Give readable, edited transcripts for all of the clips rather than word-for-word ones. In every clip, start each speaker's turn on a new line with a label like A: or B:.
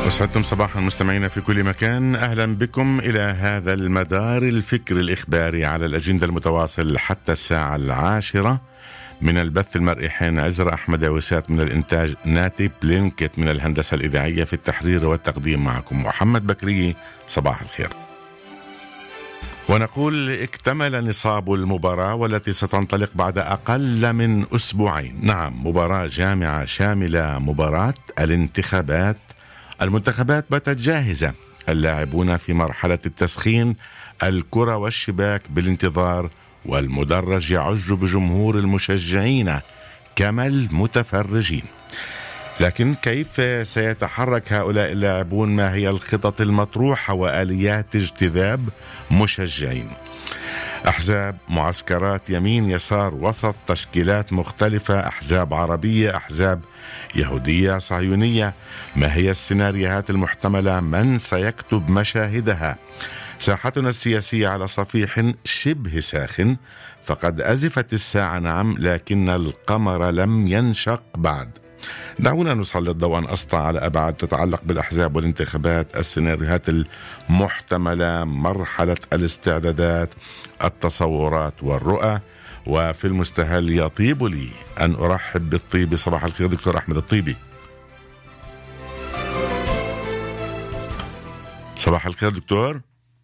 A: أسعدتم صباحا مستمعينا في كل مكان. أهلا بكم إلى هذا المدار الفكري الإخباري على الأجندة المتواصل حتى الساعة 10 من البث المرئي. حين عزرا أحمد وسات من الإنتاج، ناتي بلينكت من الهندسة الإذاعية، في التحرير والتقديم معكم محمد بكري. صباح الخير. ونقول اكتمل نصاب المباراة والتي ستنطلق بعد أقل من أسبوعين. نعم، مباراة جامعة شاملة، مباراة الانتخابات. المنتخبات باتت جاهزة، اللاعبون في مرحلة التسخين، الكرة والشباك بالانتظار، والمدرج يعج بجمهور المشجعين كما المتفرجين. لكن كيف سيتحرك هؤلاء اللاعبون؟ ما هي الخطط المطروحة وآليات اجتذاب مشجعين؟ أحزاب، معسكرات، يمين، يسار، وسط، تشكيلات مختلفة، أحزاب عربية، أحزاب يهودية، صهيونية. ما هي السيناريوهات المحتملة؟ من سيكتب مشاهدها؟ ساحتنا السياسية على صفيح شبه ساخن، فقد أزفت الساعة نعم، لكن القمر لم ينشق بعد. دعونا نسلط ضوءا أسطع على أبعاد تتعلق بالأحزاب والانتخابات، السيناريوهات المحتملة، مرحلة الاستعدادات، التصورات والرؤى. وفي المستهل يطيب لي أن أرحب بالطيبي. صباح الخير دكتور أحمد الطيبي. صباح الخير دكتور،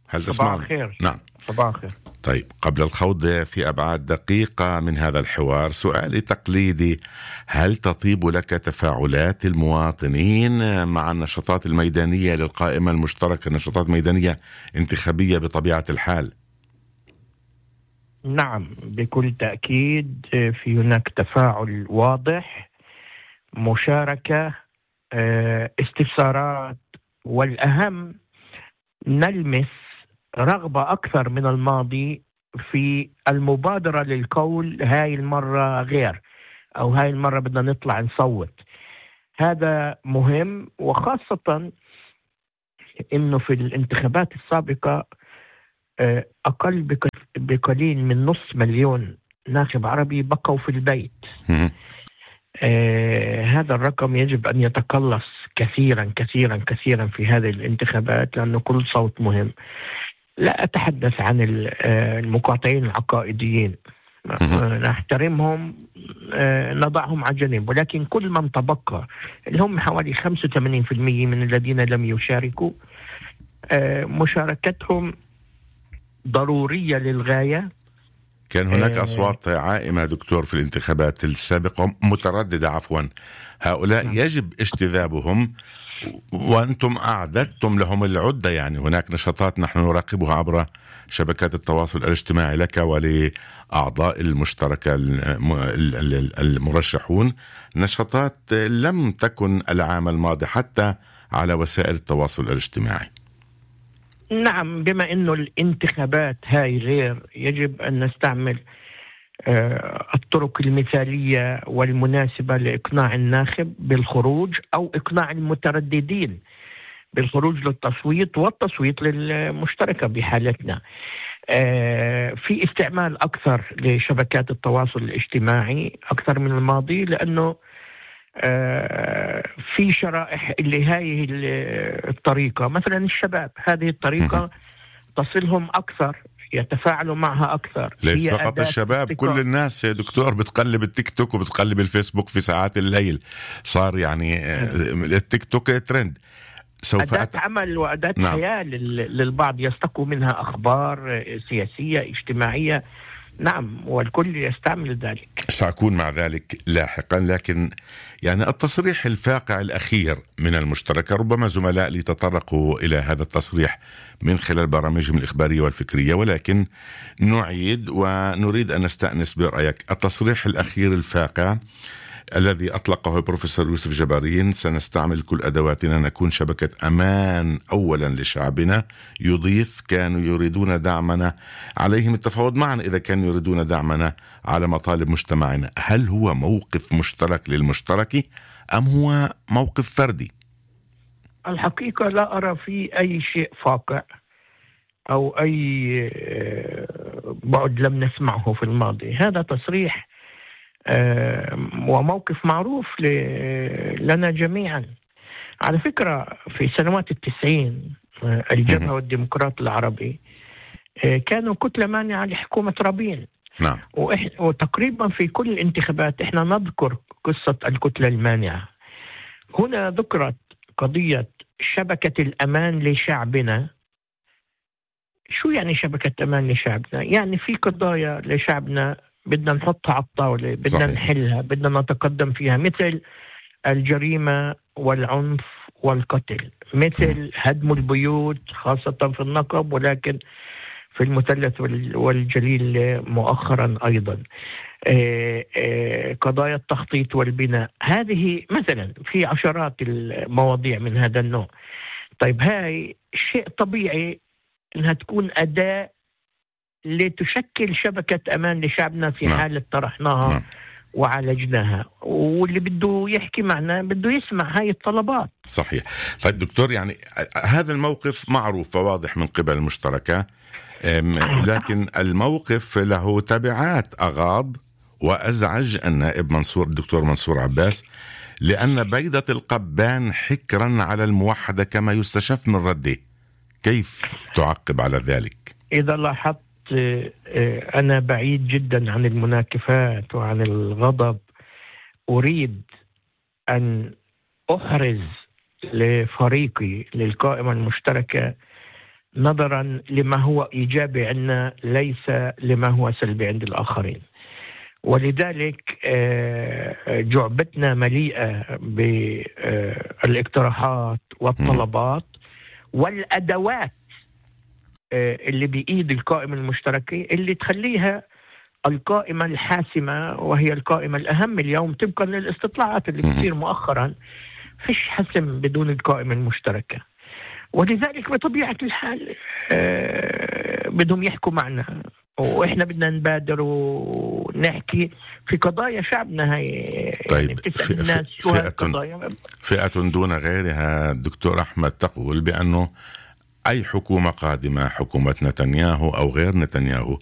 A: هل تسمعني؟
B: صباح الخير.
A: نعم
B: صباح الخير.
A: طيب، قبل الخوض في أبعاد دقيقة من هذا الحوار، سؤالي تقليدي: هل تطيب لك تفاعلات المواطنين مع النشاطات الميدانية للقائمة المشتركة، نشاطات ميدانية انتخابية بطبيعة الحال؟
B: نعم، بكل تأكيد في هناك تفاعل واضح، مشاركة، استفسارات، والأهم نلمس رغبة أكثر من الماضي في المبادرة للقول هاي المرة غير، أو هاي المرة بدنا نطلع نصوت. هذا مهم، وخاصة إنه في الانتخابات السابقة أقل بقليل من 500,000 ناخب عربي بقوا في البيت. هذا الرقم يجب أن يتقلص كثيرا كثيرا كثيرا في هذه الانتخابات، لأنه كل صوت مهم. لا أتحدث عن المقاطعين العقائديين، نحترمهم، نضعهم على جنب، ولكن كل من تبقى اللي هم حوالي 85% من الذين لم يشاركوا، مشاركتهم ضرورية للغاية.
A: كان هناك أصوات عائمة دكتور في الانتخابات السابقة، مترددة عفوا. هؤلاء يجب اجتذابهم، وأنتم أعددتم لهم العدة. يعني هناك نشاطات نحن نراقبها عبر شبكات التواصل الاجتماعي لك ولأعضاء المشتركة المرشحون، نشاطات لم تكن العام الماضي حتى على وسائل التواصل الاجتماعي.
B: نعم، بما أنه الانتخابات هاي غير، يجب أن نستعمل الطرق المثالية والمناسبة لإقناع الناخب بالخروج، أو إقناع المترددين بالخروج للتصويت، والتصويت للمشتركة بحالتنا. في استعمال أكثر لشبكات التواصل الاجتماعي أكثر من الماضي، لأنه في شرائح اللي هاي الطريقة، مثلا الشباب، هذه الطريقة تصلهم أكثر، يتفاعلوا معها أكثر.
A: ليس فقط الشباب، كل الناس يا دكتور بتقلب التيك توك وبتقلب الفيسبوك في ساعات الليل. صار يعني التيك توك ترند.
B: أداة عمل وأداة حياة للبعض، يستقوا منها أخبار سياسية اجتماعية. نعم، والكل يستعمل ذلك.
A: سأكون مع ذلك لاحقا. لكن يعني التصريح الفاقع الأخير من المشتركة، ربما زملاء لي تطرقوا إلى هذا التصريح من خلال برامجهم الإخبارية والفكرية، ولكن نعيد ونريد أن نستأنس برأيك. التصريح الأخير الفاقع الذي أطلقه البروفيسور يوسف جبارين: سنستعمل كل أدواتنا، نكون شبكة أمان أولا لشعبنا. يضيف: كانوا يريدون دعمنا، عليهم التفاوض معنا إذا كانوا يريدون دعمنا على مطالب مجتمعنا. هل هو موقف مشترك للمشترك أم هو موقف فردي؟
B: الحقيقة لا أرى فيه أي شيء فاقع أو أي بعد لم نسمعه في الماضي. هذا تصريح وموقف معروف لنا جميعا. على فكرة في سنوات 90 الجبهة والديمقراط العربي كانوا كتلة مانعة لحكومة رابين.
A: نعم.
B: وتقريبا في كل الانتخابات احنا نذكر قصة الكتلة المانعة. هنا ذكرت قضية شبكة الأمان لشعبنا. شو يعني شبكة أمان لشعبنا؟ يعني في قضايا لشعبنا بدنا نحطها على الطاولة، بدنا صحيح. نحلها، بدنا نتقدم فيها، مثل الجريمة والعنف والقتل، مثل هدم البيوت خاصة في النقب، ولكن في المثلث والجليل مؤخرا أيضا، قضايا التخطيط والبناء. هذه مثلا في عشرات المواضيع من هذا النوع. طيب هاي شيء طبيعي انها تكون أداة لتشكل شبكة أمان لشعبنا في حالة طرحناها وعالجناها، واللي بده يحكي معنا بده يسمع هاي الطلبات.
A: صحيح. طيب دكتور، يعني هذا الموقف معروف وواضح من قبل المشتركة، لكن الموقف له تبعات أغاض وأزعج النائب الدكتور منصور عباس، لأن بيضة القبان حكرا على الموحدة كما يستشف من رده. كيف تعقب على ذلك؟
B: إذا لاحظت أنا بعيد جدا عن المناكفات وعن الغضب. أريد أن أحرز لفريقي للقائمة المشتركة نظرا لما هو إيجابي عندنا، ليس لما هو سلبي عند الآخرين. ولذلك جعبتنا مليئة بالاقتراحات والطلبات والأدوات اللي بإيد القائمة المشتركة اللي تخليها القائمة الحاسمة، وهي القائمة الأهم اليوم طبقا للاستطلاعات اللي بتصير مؤخرا. فيش حسم بدون القائمة المشتركة، ولذلك بطبيعة الحال بدهم يحكوا معنا، وإحنا بدنا نبادر ونحكي في قضايا شعبنا. هاي
A: طيب
B: يعني بتسأل الناس شو هالقضايا.
A: فئة دون غيرها دكتور أحمد تقول بأنه أي حكومة قادمة، حكومة نتنياهو أو غير نتنياهو،